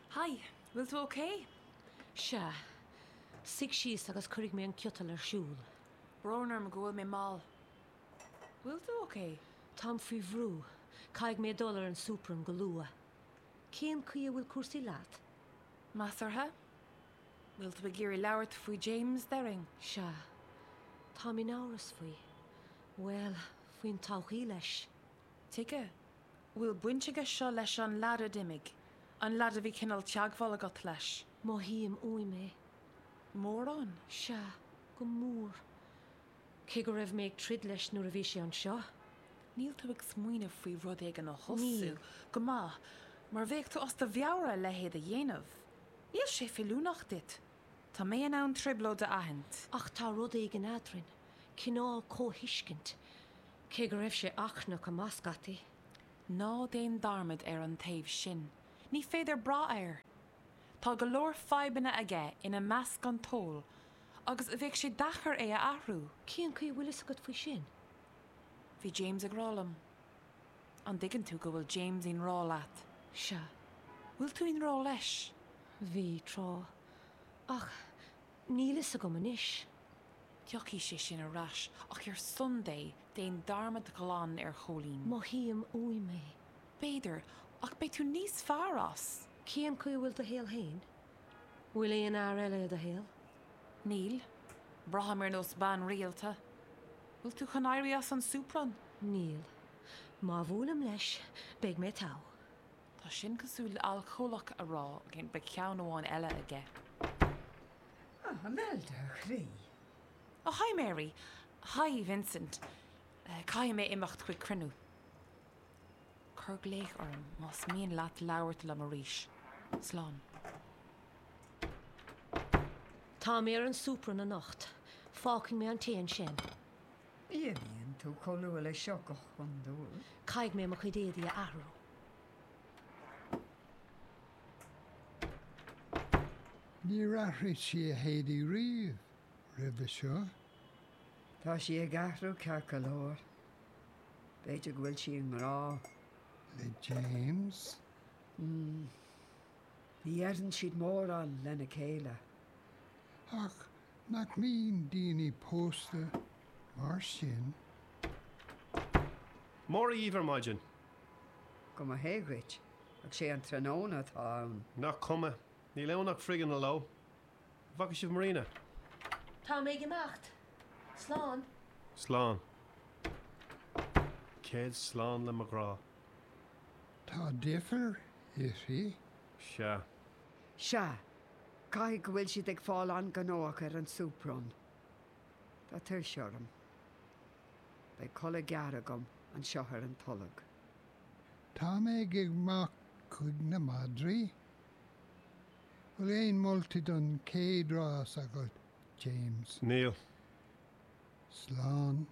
Hi, bhfuil tú ok? Sea. Suigh síos agus cuirfidh mé an ciotal ar siúl. Brón orm go bhfuil mé mall. Bhfuil tú ok? Táim faoi bhrú. Caithfidh mé dul ar an Supron go luath. Cén chaoi a bhfuil cúrsaí leat? Measartha. Bhfuil tú ag iarraidh labhairt faoi James, déarfainn? Sea. Táim in amhras faoi. Bhuel, faoin todhchaí leis. Tuige? Bhfuil baint aige seo leis an leaid a d'imigh? An leaid a bhí cineál teagmháil agat leis? Mothaím uaim é. Mórán? Sea, go mór. Cé go raibh mé ag troid leis nuair a bhí sé anseo. Níl tú ag smaoineamh faoi rud éigin a thosú? Níl. Go maith, mar bheadh tú as do mheabhair a leithéid a dhéanamh. Níl sé feiliúnach duit. Tá mé in ann trioblóid a aithint. Ach tá rud éigin eadrainn. Cineál comhthuiscint. Cé go raibh sé achrannach go maith scaití. Ná déan dearmad ar an taobh sin. Ní féidir brath air. Tá go leor fadhbanna aige, ina measc an t-ól, agus bheadh sé deacair é a athrú. Cén chaoi a bhfuil fhios agat faoi sin? Bhí James ag rá liom. An dtuigeann tú go bhfuil James i ngrá leat? Sea. Bhfuil tú i ngrá leis? Bhí, tráth. Ach níl fhios agam anois. Tiocfaidh sé sin ar ais, ach ar son Dé, déan dearmad glan ar Chóilín. Mothaím uaim é. B'fhéidir, ach beidh tú níos fearr as. Cén chaoi a bhfuil do shaol féin? Bhfuil aon fhear eile i do shaol? Níl. Braithim ar nós bean rialta. Bhfuil tú chun éirí as an Supron? Níl. Má bhuailim leis, beidh mé togha. Tá sin cosúil le alcólach a rá beidh ceann amháin eile aige. Ah, Imelda, a chroí. Oh, hi Mary. Hi Vincent. Caithfidh mé imeacht chuig cruinniú. Cuir glaoch orm más mian leat labhairt liom arís. Slán. Tá mé ar an Supron anocht. Fágfaidh mé an tae ansin. Ní imíonn tú chomh luath leis seo go hiondúil. Caithfidh mé mo chuid éadaí a athrú. Níor athraigh sí a héadaí riamh roimhe seo. Tá sí ag athrú ceart go leor. B'fhéidir go bhfuil sí i ngrá. Le James? Mm. Ní dheireann siad mórán lena chéile. Ach nach mbíonn daoine pósta mar sin? Móra dhíbh ar maidin. Go mba hé dhuit, ach sé an tráthnóna atá ann. Nach cuma, níl ann ach frighin aló. An bhfaca sibh Marina? Tá mé ag imeacht. Slán. Slán. Céad slán le mo ghrá. Tá deifir uirthi. Sea. Sea, caithfidh go bhfuil siad ag fáil an-ghnóthach ar an Supron. Tá tuirse orm. Beidh codladh gearr agam anseo ar an tolg. Tá mé ag imeacht chuig na madraí. Bhfuil aon moltaí don chéad rás agat, James? Níl. Slán.